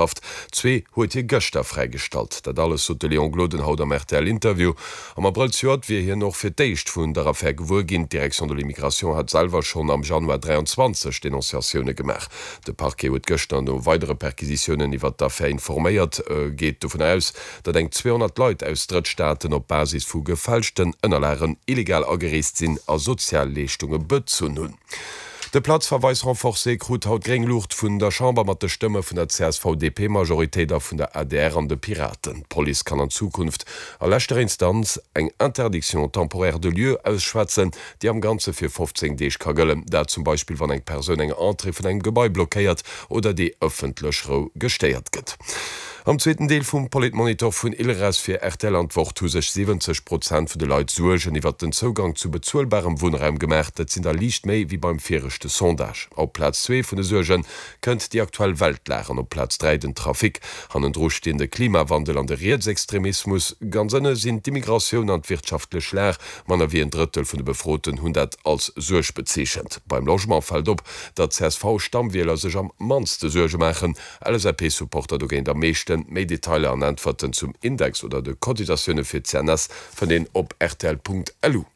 Haft. Zwee huet hie gëschter fräigestallt. Dat alles sot de Léon Gloden haut am RTL-Interview. Am Abrëll zejoert wier hien och fir d'éischt vun der Affär gewuer ginn. D'Direction de l'immigration hat selwer schonn am Januar 23 Denonciatioune gemaach. De Parquet huet gëschter no weidere Perquisitiounen iwwert d'Affär informéiert, geet dovun aus, datt eng 200 Leit aus Drëttstaaten op Basis vu gefälschten Ënnerlagen illegal agereest sinn a Sozialleeschtunge bezunn hunn. De Platzverweis renforcé krut haut gréng Luucht vun der Chamber mat de Stëmme vun der CSV-DP-Majoritéit a vun der adr an de Piraten. D'Police kann an Zukunft a leschter Instanz eng Interdiction temporaire de lieu ausschwätzen, déi am Ganze fir 15 Deeg ka gëllen. Dat zum Beispill wann eng Persoun eng Entrée vun engem Gebai blockéiert oder déi ëffentlech Rou gestéiert gëtt. Am zweeten Deel vum Politmonitor vun Ilres fir rtl an d'Wort hu sech 70 Prozent vun de Leit Suergen iwwert den Zougang zu bezuelbarem Wunnraum gemaach. Dat sinn der liicht méi wéi beim viregte Sondage. Op Plaz zwee vun de Suerge kënnt déi aktuell Weltlag an op Plaz 3 den Trafic. Hannendru stinn de Klimawandel an de Rietsextremismus. Ganz ënne sinn d'Immigratioun an d'wirtschaftlech Lag. Manner wéi en Drëttel vun de Befroten hunn dat als Suerg bezeechent. Beim Logement fält op, datt d'CSV-Stammwieler sech am mannste Suerge maachen. LSAP-Supporter dogéint am meeschten. Méi Detailer an Äntwerten zum Index oder de Cotisatioune fir d'CNS fënnt een op rtl.lu.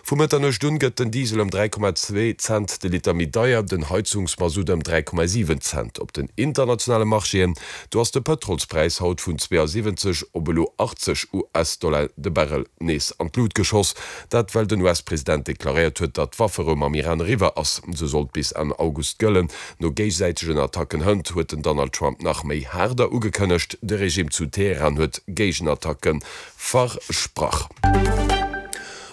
Vu Mëtternuecht un gëtt den Diesel ëm 3,2 Cent de Liter méi deier, den Heizungsmasutt ëm 3,7 Cent. Op den internationale Marchéen, do ass de Pëtrolspräis haut vun 72 op elo 80 US-Dollar de Barrel nees an d'Lut geschoss. Dat well den US-President deklaréiert huet, datt d'Wafferou mam Iran eriwwer ass. Se sollt bis Enn August gëllen. No géigesäitegen Attacken hënt huet den Donald Trump nach méi haarder ugekënnegt. De Regime zu Teheran huet Géigenattacke versprach.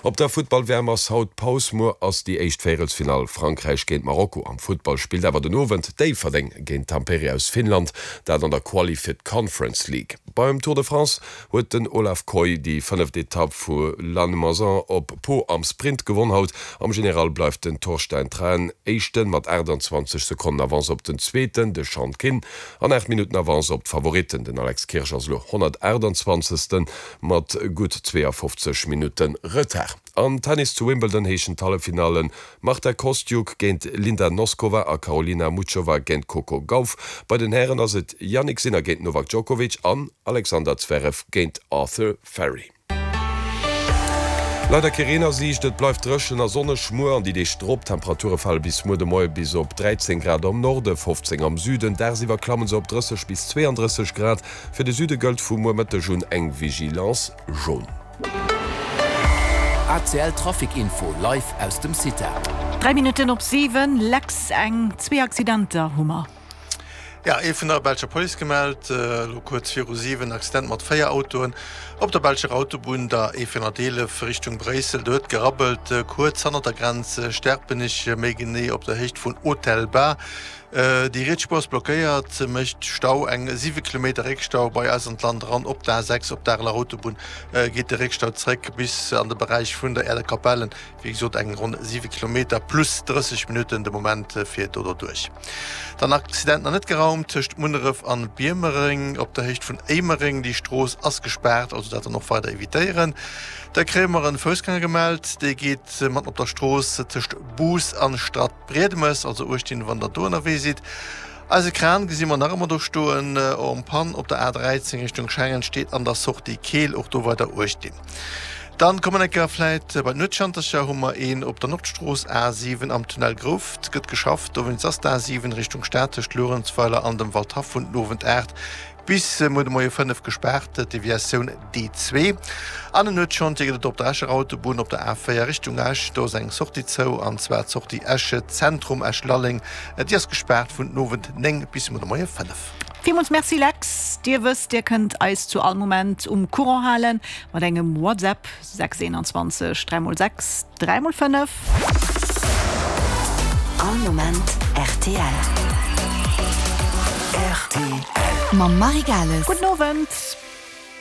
Op der Futtball-WM ass haut Paus. Muer ass déi éischt Véierelsfinall, Frankräich géint Marokko. Am Futtball spillt awer den Owend Déifferdeng géint Tampere aus Finnland, dat an der Quali fir d'Conference League. Beim Tour de France huet den Olav Kooij déi fënneft Etapp vu Lannemezan op Pau am Sprint gewonn. Haut am General bleift den Torstein Traen Éischten mat 28 Sekonnen Avance op den Zweeten, de Sean Kinn, an 8 Minutten Avance op d'Favoritten. Den Alex Kirsch ass elo 128. Mat gutt 52 Minutte Retard. Am Tennis zu Wimbledon heeschen d'Halleffinallen Marta Kostyuk géint Linda Noskova a Karolina Muchova géint Coco Gauff. Bei den Hären ass et Jannik Sinner géint Novak Djokovic an Alexander Zverev géint Arthur Fery. Leider kee Reen a Siicht, et bleift dréchen a sonneg muer an déi Deeg drop. D'Temperature fale bis muer de Moie bis op 13 Grad am Norde, 15 am Süden. Dagsiwwer klamme se op 30 bis 32 Grad. Fir de Süde gëllt vu muer Mëtteg un eng Vigilance jaune. ACL Trafic Info live aus dem CITA. 3 Minutten op 7, Lex, eng, zwee Accidenter hu mer. Ja, ee vun der belscher Police gemellt, elo kuerz viru 7, Accident mat 4 Autoen op der belscher Autobunn, der E411 Richtung Bréissel. Do huet gerabbelt kuerz hannert der Grenz Sterpenich, méi genee op der Héicht vun Autelbas. Déi riets Spuer ass blockéiert, mécht Stau, eng 7 Kilometer Réckstau bei eis an d'Land eran. Op der A6 op der Areler Autobunn geet de Réckstau zréck bis an de Beräich vun der Aerder Kapellen. Wéi gesot eng ronn 7 Kilometer plus 30 Minutten de Moment fir do derduerch. Dann Accident nach net geraumt tëscht Munneref an Biermereng op der Héicht vun Éimereng. Déi Strooss ass gespaart, also dat dann och weider evitéieren. Da kréie mer en Foussgänger gemellt, dee geet matten op der Strooss tëscht Bous an Stad. Briedemes, also uecht dinn wann der do ënnerwee sidd. Eise Kran gesi mer nach ëmmer do stoen, en panne op der A13 Richtung Schengen, steet an der Sortie Keel, och do weider uecht dinn. Dann kommen eng Kéier vläit bei d'Nuetschantercher, hu mer een op der Nordstrooss A7 am Tunnel Grouft, gëtt geschafft, dowéinst ass d'A7 Richtung Stad tëscht Luerenzweiler an dem Waldhaff vun den Owend 8 Bis muer de Moie 5 gespaart, Deviatioun D2. An en Nuetschantier gëtt et op der Escher Autobunn op der A4 Richtung Esch. Do ass eng Sortie zou, an zwar d'Sortie Esch Zentrum, Esch-Lalleng. Déi ass gespaart vun den Owend 9 bis muer de Moie 5. Villmools Merci Lex. Dir wësst, Dir kënnt eis zu all Moment um Courant halen mat engem WhatsApp. 6 21 3 mol 6 3 mol 5. All Moment rtl. Rtl. Mam Marie Gales. Gudden Owend.